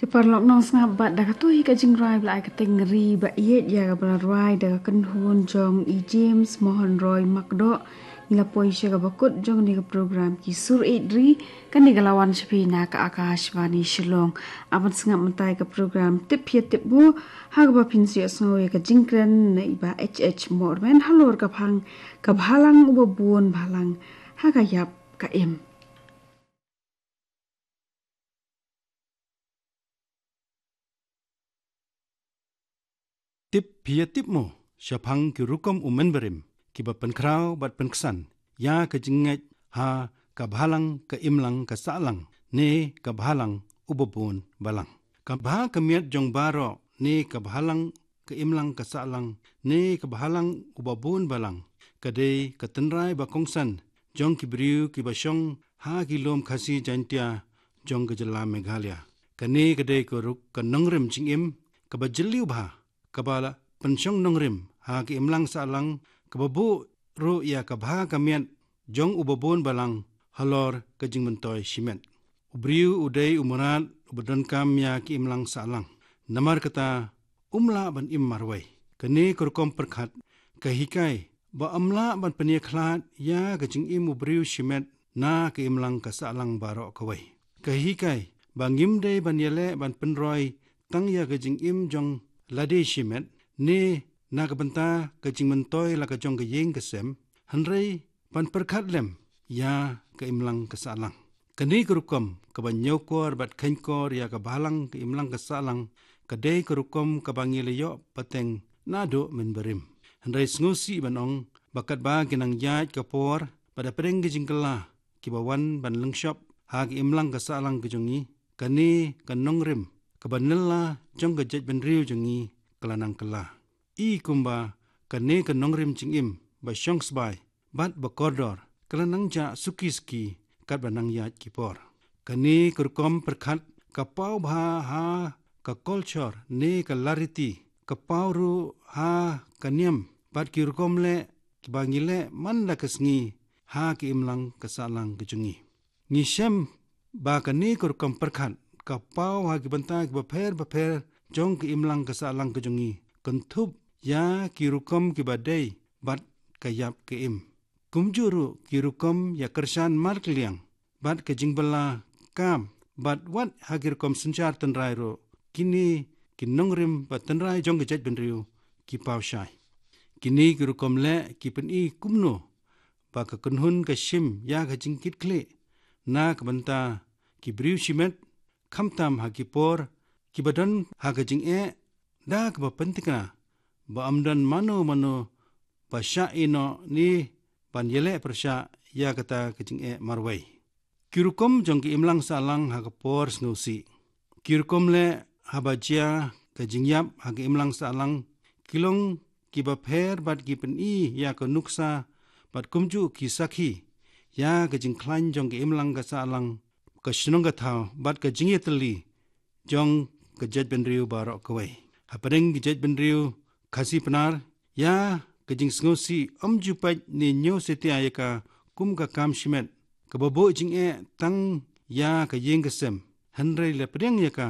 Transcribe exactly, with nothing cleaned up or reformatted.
Paralok nongsngap, bad da katei ka jingrwai ba la ai kyrteng Ri ba ïeit ïa kaba la rwai da ka kynhun jong i James Mohan Roy Makdoh, ngi la poi sha kaba kut jong kane ka program Ki Sur Ïeit Ri. Kane ka la wan sha phi na ka Akashvani Shillong. Haba sngap mynta ïa ka program Tip Phi Tip Mo, ha kaba phin sa ïohsngew ïa ka jingkren na i Bah H H Mormen halor ka phang Ka Bhalang Uba Bun Balang ha ka ïap ka im. Tip Phi Tip Mo, shaphang ki rukom u mynbarim kiba pynkhraw bad pynksan ïa ka jingngeit ha Ka Bhalang Ka Imlang Ka Sahlang ne Ka Bhalang Uba Bun Balang. Ka bha ka miat jong baroh ne Ka Bhalang Ka Imlang Ka Sahlang ne Ka Bhalang Uba Bun Balang ka dei ka tynrai ba kongsan jong ki briew kiba shong ha ki lum Khasi Jaintia jong ka jylla Meghalaya. Kane ka dei ka rukom nongrim jingim kaba jylliew bha, kaba la pynshong nongrim ha ka imlang sahlang, kaba buh ruh ïa ka bha ka miat jong uba bun balang halor ka jingmyntoi shimet. U briew u dei u mrad uba donkam ïa ka imlang sahlang. Namar kata, um lah ban im marwei. Kane ka rukom pyrkhat ka hikai ba ym lah ban pynïakhlad ïa ka jingim u briew shimet na ka imlang ka sahlang baroh kawei. Ka hikai ba ngim dei ban ïaleh ban pynroi tang ïa ka jingim jong lade shimet ne na ka bynta ka jingmyntoi la ka jong ka ïing ka sem, hynrei ban pyrkhat lem ïa ka imlang ka sahlang. Kane ka rukom kaba ñiewkor bad kheiñkor ïa ka bhalang ka imlang ka sahlang ka dei ka rukom kaba ngi la ïoh pateng naduh mynbarim. Hynrei sngewsih ban ong ba katba ki nang ïaid ka por bad hapdeng ki jingkylla kiba wan ban lyngshop ha ka imlang ka sahlang ka jong ngi, kane ka nongrim kaba nylla jong ka jaitbynriew jong ngi ka la nang kylla. I kumba kane ka nongrim jingim ba shong sbai bad ba kordor ka la nang jah suki suki katba nang ïaid ki por. Kane ka rukom pyrkhat ka paw bha ha ka culture ne ka lariti, ka paw ruh ha ka niam bad ki rukom leh kiba ngi leh man la ka sngi ha ka imlang ka sahlang ka jong ngi. Ngi shem ba kane ka rukom pyrkhat ka paw ha ki bynta kiba pher bapher jong ka imlang ka sahlang ka jong ngi, kynthup ïa ki rukom kiba dei bad ka ïap ka im. Kumjuh ruh ki rukom ïa kyrshan markylliang bad ka jingbylla kam bad wat ha ki rukom synshar tynrai ruh, kine ki nongrim bad tynrai jong ka jaitbynriew ki paw shai. Kine ki rukom leh ki pyni kumno ba ka kynhun ka shim ïa ka jingkitkhlieh na ka bynta ki briew shimet, khamtam ha ki por kiba don ha ka jingeh da kaba pynthikna ba ym don mano mano ba shah ïehnoh ne ban ïaleh pyrshah ïa kata ka jingeh marwei. Ki rukom jong ka imlang sahlang ha ka por sngewsih. Ki rukom leh haba jia ka jingïap ha ka imlang sahlang ki long kiba pher bad ki pyni ïa ka nuksa bad kumjuh ki sakhi ïa ka jingkhlaiñ jong ka imlang ka sahlang, ka shnong ka thaw bad ka jingïatylli jong ka jaitbynriew baroh kawei. Hapdeng ka jaitbynriew Khasi Pnar, ïa ka jingsngewsih ym ju peit ne ñiew satia ïa ka kum ka kam shimet kaba buh jingeh tang ïa ka ïing ka sem, hynrei la pdiang ïa ka